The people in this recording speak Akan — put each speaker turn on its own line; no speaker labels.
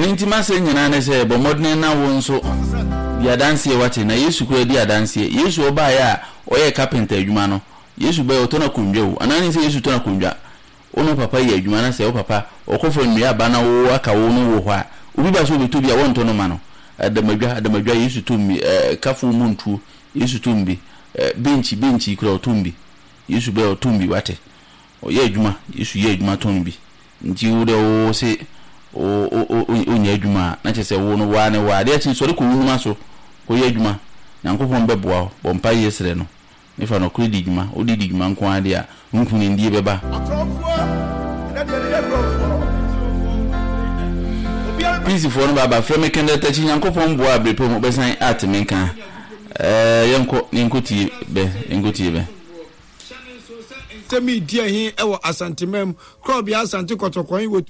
Ɛno nti m'asɛm nyinaa ne sɛ, bɔ mmɔdene na wo nso di adanseɛ wate, na Yesu koraa di adanseɛ. Yesu ɔbaeɛ a ɔyɛɛ carpenter adwuma no, Yesu baeɛ ɔtɔn akondwa o, anaa wonim sɛ Yesu tɔn akondwa? Wo ne wo papa yɛ adwuma na sɛ wo papa ɔkɔfa nnua aba na wo aka wo no wɔ hɔ a, obi ba sɛ ɔbɛtɔ bi a wɔntɔ no ma no. Adamadwa, adamadwa, Yesu tɔn bi, ɛɛ kafo mu ntuo, Yesu tɔn bi, ɛɛ benkyi, benkyi koraa ɔtɔn bi. Yesu baeɛ ɔtɔn bi wate. Ɔyɛ adwuma, Yesu yɛ adwuma tɔn bi. Nti wo deɛ wo se wo wo wonyɛ adwuma a, na kyerɛ sɛ wo no woa ne woa. Adeɛ kye sɔre kɔ wo nnwuma so kɔyɛ adwuma. Nyankopɔn bɛboa wo. Bɔ mpaeɛ srɛ no. Ne fa nɔkorɛ di dwuma. Wode di dwuma nko ara deɛ a, wo nkunimdie bɛba. Peace foɔ no baaba frɛ me Kendall Takyi Nyankopɔn boa a berepɛ mu wobɛsan ate me nka. Ɛɛ yɛnkɔ na yɛnkɔ tie bɛ, yɛnkɔ tie bɛ.
Hyɛ no nsow sɛ nsɛm yi di ahe wɔ Asanteman mu, Korɔbea Asante Kɔtɔkɔn wɔ.